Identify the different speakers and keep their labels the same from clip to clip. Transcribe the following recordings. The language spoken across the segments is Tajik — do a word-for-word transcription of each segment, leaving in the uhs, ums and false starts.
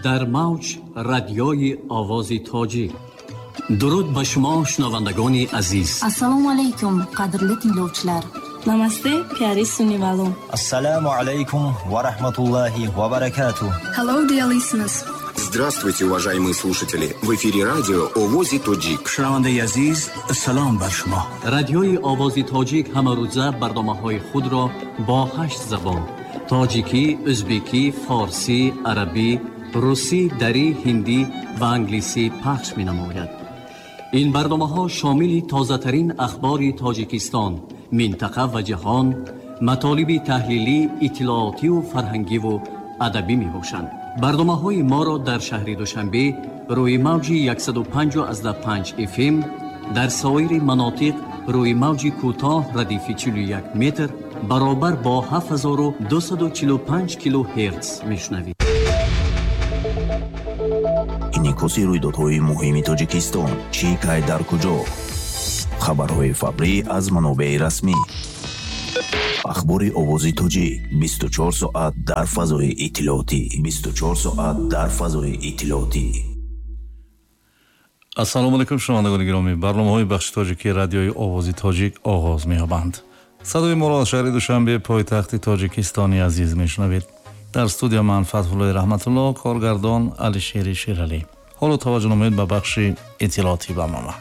Speaker 1: Дар мавҷ радиои Овози Тоҷик. Дуруд ба шумо, шунавандагони азиз.
Speaker 2: Ассалому алайкум, қадрли tinglovchilar.
Speaker 3: Намасте, пиари сунивало.
Speaker 4: Ассалому алайкум ва раҳматуллоҳи ва баракатуҳ.
Speaker 5: Hello, dear listeners.
Speaker 6: Здравствуйте, уважаемые слушатели! В эфире радио Овози Тоҷик.
Speaker 7: Шунавандаи азиз, салом бар шумо.
Speaker 1: Радиои Овози Тоҷик ҳамарӯза барномаҳои худро бо ҳашт забон: тоҷикӣ, ӯзбекӣ, форсӣ, арабӣ, русӣ, дарӣ, ҳиндӣ ва англисӣ пахш менамояд. Ин барномаҳо шомили тозатарин ахбори Тоҷикистон, минтақа ва ҷаҳон, матолиби таҳлилӣ, иттилоотиву фарҳангиву адабӣ мебошанд. Барномаҳои моро дар шаҳри Душанбе рӯи мавҷи яксаду панҷ эф эм, дар соири манотиқ рӯи мавҷи кӯтоҳ радифи чилу як метр баробар бо ҳафт ҳазору дусаду чилу панҷ килогерц мешунавед.
Speaker 8: Инъикоси рӯйдодҳои муҳими Тоҷикистон, чӣ, кай, дар куҷо? Хабарҳои фаврӣ аз манобеи расмӣ. Ахбори Овози Тоҷик бисту чор соат дар фазои иттилоотӣ. бисту чор соат дар фазои иттилоотӣ.
Speaker 9: Ассалому алайкум, шунавандагони гиромӣ. Барномаҳои бахши тоҷикии радиои Овози Тоҷик оғоз меёбанд. Садои моро аз шаҳри Душанбе, пойтахти Тоҷикистони азиз, мешунавед. Дар студия ман Фатҳуллои Раҳматулло, коргардон Алишери Шералӣ. Ҳоло таваҷҷӯҳ намоед ба бахши иттилоотии барнома.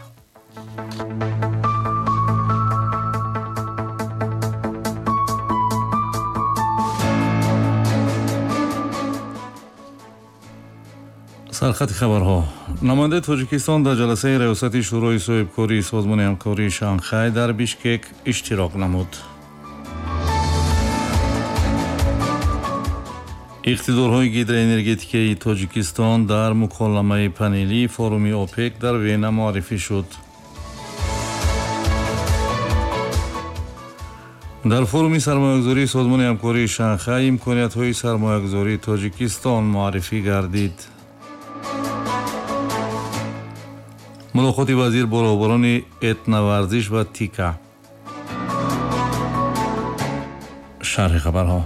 Speaker 9: Сархати хабарҳо. Намояндаи Тоҷикистон дар ҷаласаи раёсати Шӯрои соҳибкории Созмони ҳамкории Шанхай дар Бишкек иштирок намуд. Иқтидорҳои гидроэнергетикаи Тоҷикистон дар муколамаи панелии форуми ОПЕК дар Вена муаррифӣ шуд. Дар форуми сармоягузории Созмони ҳамкории Шанхай имкониятҳои сармоягузории Тоҷикистон муаррифӣ гардид. Мулоқоти вазир бо роҳбарони этноварзиш ва ТИКА. Шарҳи хабарҳо.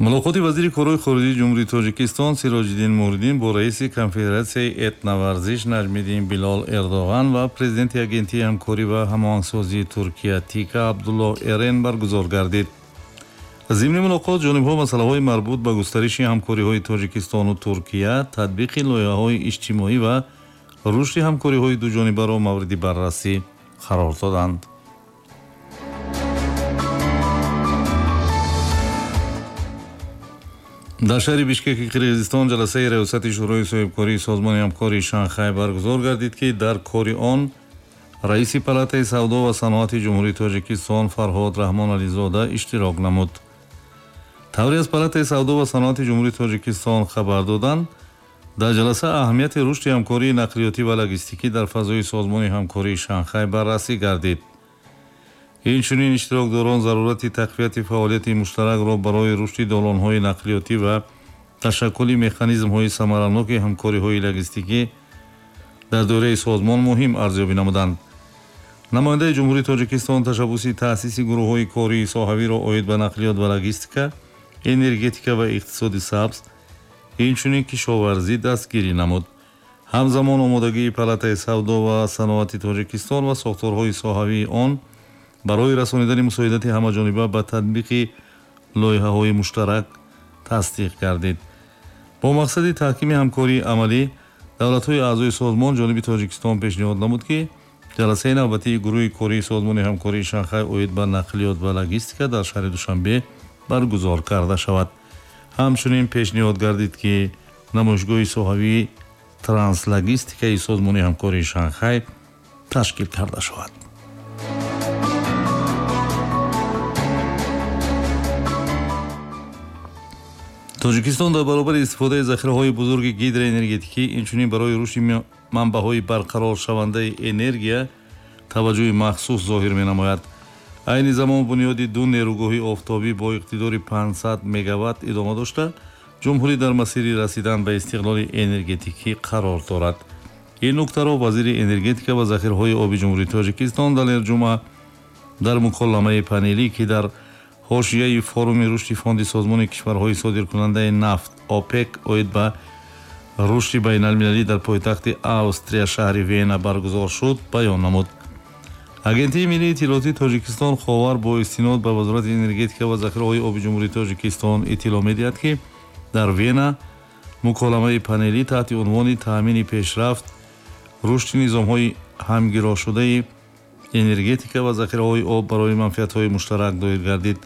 Speaker 9: Мулоқоти вазири корҳои хориҷии Ҷумҳурии Тоҷикистон Сироҷиддин Муҳриддин бо раиси конфедератсияи этноварзиш Наҷмиддин Билол Эрдоған ва президенти агентии ҳамкорӣ ва ҳамоҳангсозии Туркия ТИКА Абдуллоҳ Эрен баргузор гардид. Зимни мулоқот ҷонибҳо масъалаҳои марбут ба густариши ҳамкориҳои Тоҷикистону Туркия, татбиқи лоиҳаҳои иҷтимоӣ ва рушди ҳамкориҳои дуҷонибаро мавриди баррасӣ қарор доданд. Дар шаҳри Бишкеки Қирғизистон ҷаласаи раёсати Шӯрои соҳибкории Созмони ҳамкории Шанхай баргузор гардид, ки дар кори он раиси палатаи савдо ва саноати Ҷумҳурии Тоҷикистон Фарҳод Раҳмонализода иштирок намуд. Тавре аз палатаи савдо ва саноати Ҷумҳурии Тоҷикистон хабар доданд, дар ҷаласа аҳамияти рушди ҳамкории нақлиётӣ ва логистикӣ дар фазои Созмони ҳамкории Шанхай баррасӣ гардид. Инчунин иштирокдорон зарурати тақвияти фаъолияти муштаракро барои рушди долонҳои нақлиётӣ ва ташаккули механизмҳои самараноки ҳамкориҳои логистикӣ дар доираи созмон муҳим арзёбӣ намуданд. Намояндаи Ҷумҳурии Тоҷикистон ташаббуси таъсиси гурӯҳҳои кории соҳавиро оид ба нақлиёт ва логистика, энергетика ва иқтисоди сабз, инчунин кишоварзӣ дастгирӣ намуд. Ҳамзамон омодагии палатаи савдо ва саноати Тоҷикистон ва сохторҳои соҳавии он барои расонидани мусоидати ҳамаҷониба ба татбиқи лоиҳаҳои муштарак тасдиқ гардид. Бо мақсади таҳкими ҳамкории амалӣ давлатҳои аъзои созмон ҷониби Тоҷикистон пешниҳод намуд, ки ҷаласаи навбатии гурӯҳи кории Созмони ҳамкории Шанхай оид ба нақлиёт ва логистика дар шаҳри Душанбе баргузор карда шавад. Ҳамчунин пешниҳод гардид, ки намоишгоҳи соҳавии транслогистикаи Созмони ҳамкории Шанхай ташкил карда шавад. Тоҷикистон дар баробари истифодаи захираҳои бузурги гидроэнергетикӣ, инчунин барои рушди манбаъҳои барқароршавандаи энергия таваҷҷӯҳи махсус зоҳир менамояд. Айни замон бунёди ду нерӯгоҳи офтобӣ бо иқтидори панҷсад мегаватт идома дошта, ҷумҳурӣ дар масири расидан ба истиқлоли энергетикӣ қарор дорад. Ин нуктаро вазири энергетика ва захираҳои оби Ҷумҳурии Тоҷикистон Далер Ҷума дар муколамаи панелӣ, ки дар ҳошияи форуми рушди фонди созмони кишварҳои содиркунандаи нафт ОПЕК оид ба рушди байналмилалӣ дар пойтахти Австрия шаҳри Вена баргузор шуд, баён намуд. Агентии миллии иттилоотии Тоҷикистон Ховар бо истинод ба Вазорати энергетика ва захираҳои оби Ҷумҳурии Тоҷикистон иттилоъ медиҳад, ки дар Вена муколамаи панелӣ таҳти унвони таъмини пешрафт, рушди низомҳои ҳамгирошудаи энергетика ва захираҳои об барои манфиатҳои муштарак доир гардид.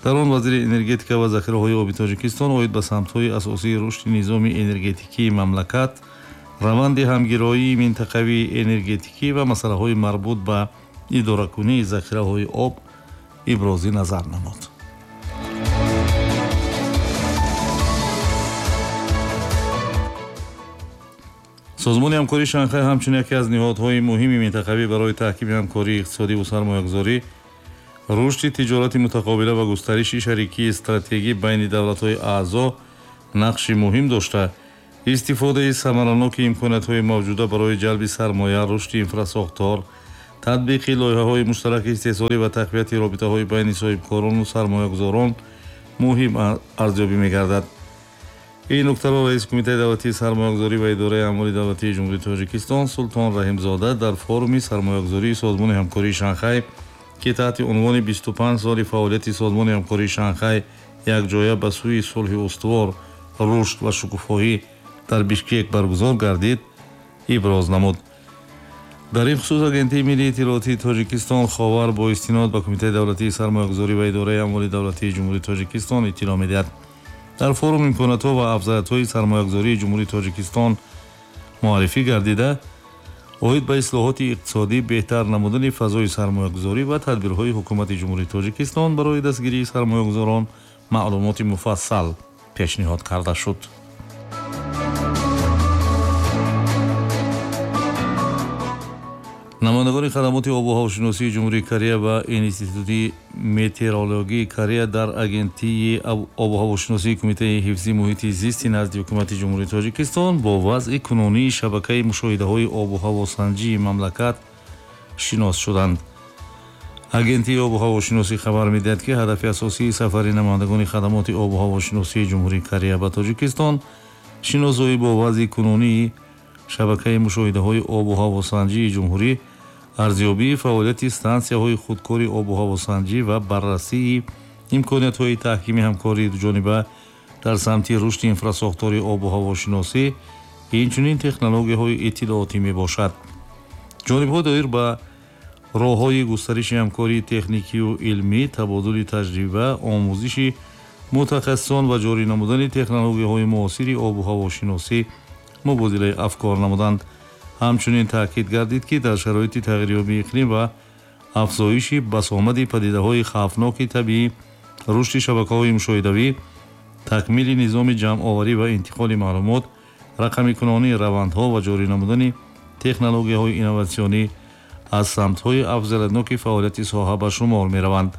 Speaker 9: Дар он вазири энергетика ва захираҳои оби Тоҷикистон оид ба самтҳои асосии рушди низоми энергетикии мамлакат, раванди ҳамгироии минтақавии энергетикӣ ва масъалаҳои марбут ба идоракунии захираҳои об ибрози назар намуд. Созмони ҳамкории Шанхай ҳамчун яке аз ниҳодҳои муҳими минтақавӣ барои таҳкими ҳамкории иқтисодӣ ва сармоягузорӣ, рушди тиҷорати мутақобила ва густариши шарикии стратегӣ байни давлатҳои аъзо нақши муҳим дошта, истифодаи самараноки имкониятҳои мавҷуда барои ҷалби сармоя, рушди инфрасохтор, татбиқи лоиҳаҳои муштараки истеҳсолӣ ва тақвияти робитаҳои байни соҳибкорону сармоягузорон муҳим арзёбӣ мегардад. Ин нуктаро раиси Кумитаи давлатии сармоягузорӣ ва идораи амволи давлатии Ҷумҳурии Тоҷикистон Султон Раҳимзода дар форуми сармоягузории Созмони ҳамкории Шанхай, ки таҳти унвони бисту панҷ соли фаъолияти Созмони ҳамкории Шанхай якҷоя ба сӯи сулҳи устувор, рушд ва шукуфоҳӣ дар Бишкек баргузор гардид, иброз намуд. Дар ин хусус Агентии миллии иттилоотии Тоҷикистон Ховар бо истинод ба Кумитаи давлатии сармоягузорӣ ва идораи амволи давлатии Ҷумҳурии Тоҷикистон иттилоъ медиҳад. Дар форум имкониятҳо ва афзалиятҳои сармоягузории Ҷумҳурии Тоҷикистон муаррифӣ гардида, оид ба ислоҳоти иқтисодӣ, беҳтар намудани фазои сармоягузорӣ ва тадбирҳои ҳукумати Ҷумҳурии Тоҷикистон барои дастгирии сармоягузорон маълумоти муфассал пешниҳод карда шуд. Намояндагони хадамоти обу ҳавошиносии Ҷумҳурии Корея ва Институти метеорологии Корея дар Агентии обу ҳавошиносии Кумитаи ҳифзи муҳити зисти назди Ҳукумати Ҷумҳурии Тоҷикистон бо вазъи кунунии шабакаи мушоҳидаҳои обу ҳавосанҷии мамлакат шинос шуданд. Агентии обу ҳавошиносӣ хабар медиҳад, ки ҳадафи асосии сафари намояндагони хадамоти обу ҳавошиносии Ҷумҳурии Корея ба Тоҷикистон шиносоӣ бо вазъи кунунии шабакаи мушоҳидаҳои обу ҳавосанҷии ҷумҳурӣ, арзёбии фаъолияти стансияҳои худкори обу ҳавосанҷӣ ва баррасии имкониятҳои таҳкими ҳамкории дуҷониба дар самти рушди инфрасохтори обу ҳавошиносӣ, инчунин технологияҳои иттилоотӣ мебошад. Ҷонибҳо доир ба роҳҳои густариши ҳамкории техникию илмӣ, табодули таҷриба, омӯзиши мутахассисон ва ҷорӣ намудани технологияҳои муосири обу ҳавошиносӣ мубодилаи афкор намуданд. Ҳамчунин таъкид гардид, ки дар шароити тағйирёбии иқлим ва афзоиши басомади падидаҳои хавфноки табиӣ, рушди шабакаҳои мушоҳидавӣ, такмили низоми ҷамъоварӣ ва интиқоли маълумот, рақамикунонии равандҳо ва ҷорӣ намудани технологияҳои инноватсионӣ аз самтҳои афзалиятноки фаъолияти соҳа ба шумор мераванд.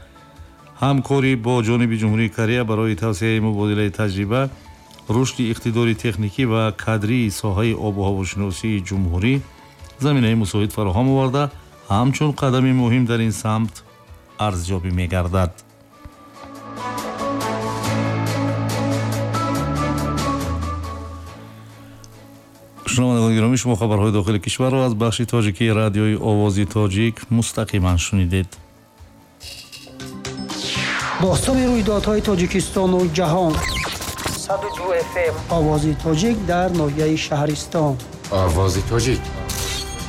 Speaker 9: Ҳамкорӣ бо ҷониби Ҷумҳурии Корея барои тавсеаи мубодилаи таҷриба, рушди иқтидори техникӣ ва кадрии соҳаи обу ҳавошиносии ҷумҳурӣ заминаи мусоид фароҳам оварда, ҳамчун қадами муҳим дар ин самт арзёбӣ мегардад. Шунавандагони гиромӣ, шумо хабарҳои дохили кишварро аз бахши тоҷикии радиои Овози Тоҷик мустақиман шунидед.
Speaker 5: Бозтоби рӯйдодҳои Тоҷикистону ҷаҳон. сад ва ду эф эм Овози Тоҷик дар ноҳияи Шаҳристон.
Speaker 6: Овози Тоҷик.